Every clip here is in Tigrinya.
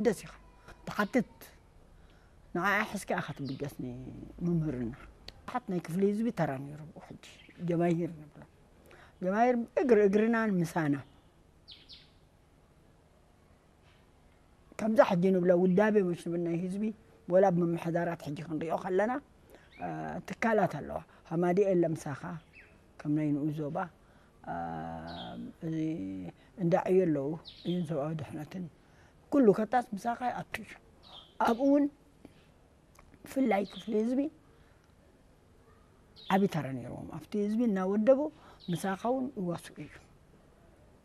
ደስ ኢኻ ትሓትት። ንዓኣ ሒዝካ ኢኻ ትብገስ ንመምህርና። ሓት ናይ ክፍሊ ህዝቢ ተራ ነይሩ። ብኡ ሕጂ ጀማሂር ንብሎ። ጀማሂር እግሪ እግርናን ምሳና። ከምዛ ሕጂ ንብሎ ውዳቤ መሽ ንብል ናይ ህዝቢ፣ ወላ ብምምሕዳራት ሕጂ ክንሪኦ ከለና፣ እ፣ ትካላት ኣለዋ። ሃማዲ የለ ምሳኻ፣ ከም ናይ ንኡ ዞባ፣ እ፣ እዚ እንዳ ዕዮ ኣለዉ፣ ዕዮን ሰብኣዊ ድሕነትን። ኩሉ ከታስ ምሳኻ ይኣቱ እዩ። ኣብኡ እውን ብፍላይ ክፍሊ ህዝቢ ዓቢ ተራ ነይርዎም። ኣብቲ ህዝቢ እናወደቡ ምሳኻ እውን ይዋስኡ እዩ።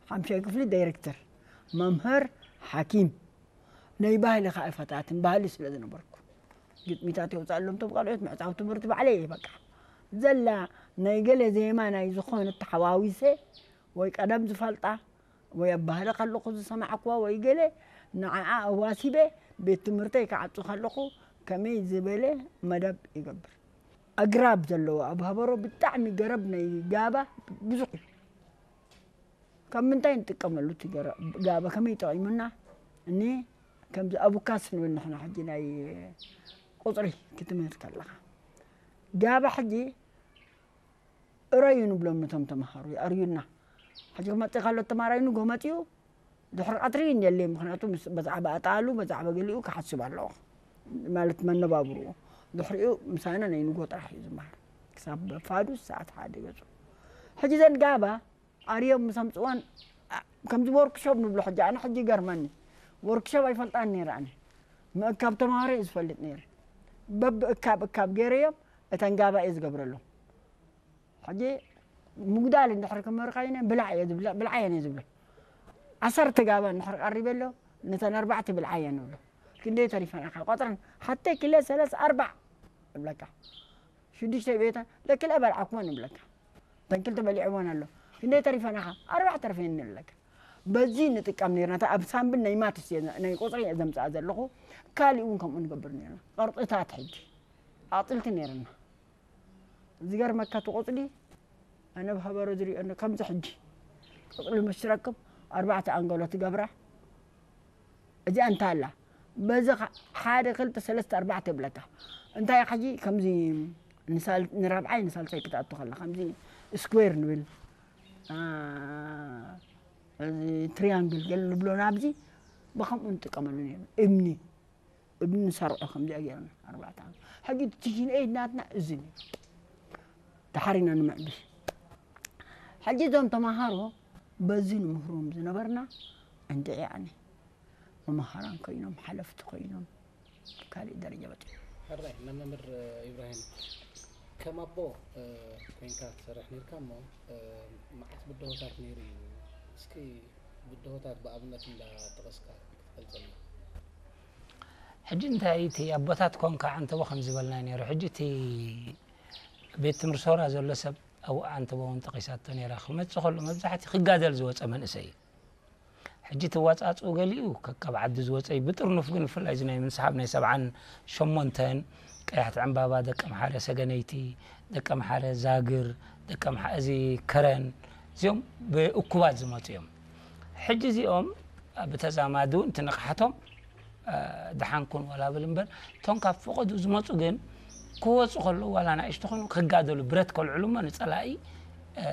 ሓምሻይ ክፍሊ ዳይሬክተር፣ መምህር፣ ሓኪም። ናይ ባህሊ ኸኣ ኣይፈታትን፣ ባህሊ ስለ ዝነበርኩ። ግጥሚታት የውፅኣሎም፣ እቶም ካልኦት ምዕፃው ትምህርቲ ባዕለይ እየ በቃ። ዘላ ናይ ገለ ዜማ ናይ ዝኾነ ተሓዋዊሰ ወይ ቀደም ዝፈልጣ ወይ ኣብ ባህሊ ከለኹ ዝሰማዕክዋ ወይ ገለ ንዓኣ ኣዋሲበ ቤት ትምህርተይ ክዓጹ ከለኹ ከመይ ዝበለ መደብ ይገብር። ኣግራብ ዘለዎ ኣብ ሃበሮ ብጣዕሚ ገረብ ናይ ጋባ ብዙሕ እዩ። ካብ ምንታይ ንጥቀመሉ እቲ ገረ-፣ ጋባ ከመይ ይጠቒሙና? እኒ ከምዚ ኣቡካስ ንብል ንሕና ሕጂ ናይ ቁጽሪ ክትምህር ከለኻ። ጋባ ሕጂ እረዩ ንብሎም ነቶም ተምሃሮ፣ ይኣርዩና። ሕጂ ክመጽእ ከሎ ተማራይ ንጎ መጽኡ፣ ድሕሪ ቀትሪ እንደልየ፣ ምኽንያቱ ምስ፣ ብዛዕባ ኣጣሉ፣ ብዛዕባ ገሊኡ ክሓስብ ኣለዎ። ማለት መነባብርኡ። ድሕሪኡ ምሳና ናይ ንጎ ጥራሕ እዩ ዝመሃር። ክሳብ ፋዱስ ሰዓት ሓደ ገጹ። ሕጂ ዘን ጋባ ኣርዮም ምስ ኣምጽዋን፣ ኣ-፣ ከምዚ ወርክሾፕ ንብሎ ሕጂ፣ ኣነ ሕጂ ይገርመኒ። ወርክሾፕ ኣይፈልጣን ነይረ ኣነ። ምእካብ ተምሃሮ እየ ዝፈልጥ ነይረ። በብእካብ እካብ ገይረዮም፣ እተን ጋባ እየ ዝገብረሎም። ሕጂ ምጉዳል እንድሕር ክምህር ኮይነ፣ ብላዕ እየ ዝብለ-፣ ብልዓየን እየ ዝብሎ። ዓሰርተ ጋባ እንድሕር ቀሪበ ኣሎ፣ ነተን ኣርባዕተ ብልዓየን እብሎ። ክንደይ ተሪፈን ኢኻ? ቆጽረን፣ ሓተይ ክለ ሰለስ ኣርባዕ እብለካ። ሽዱሽተ ቤተን፣ ለክለ በልዓኩወን እብለካ። እተን ክልተ በሊዕወን ኣሎ። ክንደይ ተሪፈን ኢኻ? ኣርባዕ ተርፈን እብለካ። በዚ ንጥቀም ነይርና። እታ ኣብ ሳምብል ናይ ማትስ እየ፣ ናይ ቁጽሪ እየ ዘምጽኣ ዘለኹ። ካሊእ እውን ከምኡ ንገብር ነይርና። ቅርጽታት ሕጂ። ኣቕጽልቲ ነይርና። ዝገርመካ እቲ ቆጽሊ፣ ኣነ ብኸበሮ ዝሪኦ እንዶ ከምዚ ሕጂ። ቆጽሊ ምስ ትረክብ ኣርባዕተ ኣንገሎ ትገብራ። እዚኣ እንታይ ኣላ? በዚ ኸ-፣ ሓደ፣ ክልተ፣ ሰለስተ፣ ኣርባዕተ ይብለካ። እንታይ ሕጂ ከምዚ ንሳል-፣ ንራብዓይ ንሳልሳይ ክትኣቱ ከላ፣ ከምዚ ስኩዌር ንብል። ኣ፣ እዚ ትሪያንግል ገለ ንብሎ ናብዚ ብኸምኡ ንጥቀመሉ ነይርና። እምኒ፣ እምኒ ንሰርዖ ከምዚኣ ገይርና ኣርባዕተ ዓመት። ሕጂ እቲ ቲሽን ኤይት ናትና እዚ ነይሩ። ደሓር ኢና ንምዕብል። ሕጂ እዞም ተምሃሮ በዚ ንምህሮም ዝነበርና እንድዒ ኣነ መምሃራን ኮይኖም፣ ሓለፍቲ ኮይኖም፣ ካልእ ደረጃ በጺሖም። ሕራይ፣ መምህር ኢብራሂም፣ ከም ኣቦ፣ እ፣ ኮይንካ ትሰርሕ ነይርካ እሞ፣ እ፣ መዓት ብድሆታት ነይሩ እዩ። እስኪ ብድሆታት ብኣብነት እንዳጠቐስካ ክትገልጸልና። ሕጂ እንታይ እቲ ኣቦታት ኮንካ ዓንተቦ ከም ዝበልና ነይሩ። ሕጂ እቲ ቤት ትምህርቲ ሶራ ዘሎ ሰብ ኣብኡ ዓንተቦ እውን ጠቒሳቶ ነይራ። ክመጽእ ከሎ መብዛሕትኡ ክጋደል ዝወጸ መንእሰይ እዩ። ሕጂ እቲ ኣወጻጽኡ ገሊኡ ከካብ ዓዲ ዝወጸ እዩ። ብጥርኑፍ ግን ብፍላይ እዚ ናይ ምንስሓብ ናይ ሰብዓን ሸሞንተን ቀያሕቲ ዕምባባ፣ ደቀምሓረ ሰገነይቲ፣ ደቀምሓረ ዛግር፣ ደቀምሓ-፣ እዚ ከረን፣ እዚኦም ብእኩባት ዝመጹ እዮም። ሕጂ እዚኦም ብተዛማዲ እውን እቲ ንቕሓቶም፣ እ፣ ደሓን ኩን ዋላ ብል እምበር፣ እቶም ካብ ፈቐዱ ዝመጹ ግን ክወጹ ከለዉ ዋላ ንኣሽቱ ኾኑ ክጋደሉ ብረት ከልዕሉ እሞ ንጸላኢ፣ እ፣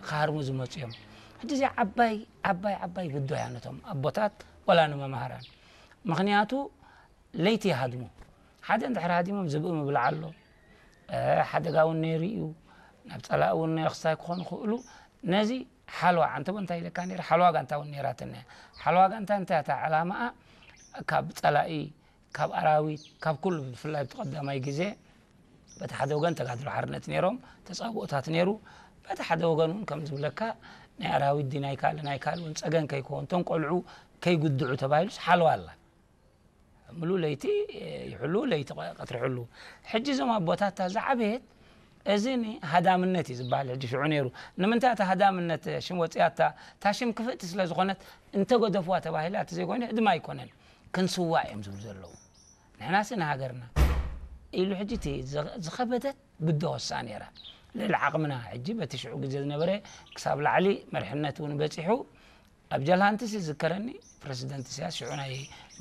ክሃርሙ ዝመጹ እዮም። ሕጂ እዚኣ ዓባይ፣ ዓባይ፣ ዓባይ ብድሆ እያ ነቶም ኣቦታት ዋላ ንመማህራን። ምኽንያቱ ለይቲ ይሃድሙ። ሓደ እንድሕር ሃዲሞም ዝብኢ ምብላዕ ኣሎ። እ፣ ሓደጋ እውን ነይሩ እዩ። ናብ ጸላኢ እውን ክሳይ ክኾኑ ክእሉ። ነዚ ሓለዋ፣ ዓንተቦ እንታይ ኢለካ ነይረ? ሓለዋ ጋንታ እውን ነይራትና እያ። ሓለዋ ጋንታ እንታይ እታ ዕላማኣ? ካብ ጸላኢ፣ ካብ ኣራዊት፣ ካብ ኩሉ ብፍላይ ኣብቲ ቀዳማይ ግዜ በቲ ሓደ ወገን ተጋድሎ ሓርነት ነይሮም፣ ተጻብኦታት ነይሩ። በቲ ሓደ ወገን እውን ከም ዝብለካ ናይ ኣራዊት ድዩ ናይ ካልእ ናይ ካልእ እውን ጸገም ከይከውን፣ እቶም ቆልዑ ከይጉድዑ ተባሂሉስ ሓለዋ ኣላ። ምሉእ ለይቲ ይሕሉ፣ ለይቲ ቀትሪ ይሕሉ። ሕጂ እዞም ኣቦታት እታ ዝዓበየት፣ እዚ ኒ ሃዳምነት እዩ ዝበሃል። ሕጂ ሽዑ ነይሩ። ንምንታይ እቲ ሃዳምነት ሽም ወፂኣታ? እታ ሽም ክፍእቲ ስለ ዝኾነት እንተገደፍዋ ተባሂላ፣ እቲ ዘይኮይኑ ህድማ ኣይኮነን። ክንስዋእ እዮም ዝብሉ ዘለዉ። ንሕናሲ ንሃገርና ኢሉ ሕጂ እቲ ዝ-፣ ዝኸበደት ብድሆሳ ነይራ። ልዕሊ ዓቕምና ሕጂ በቲ ሽዑ ግዜ ዝነበረ ክሳብ ላዕሊ መሪሕነት እውን በፂሑ። ኣብ ጃልሃንትስ ይዝከረኒ፣ ፕረሲደንት ኢሳያስ ሽዑ ናይ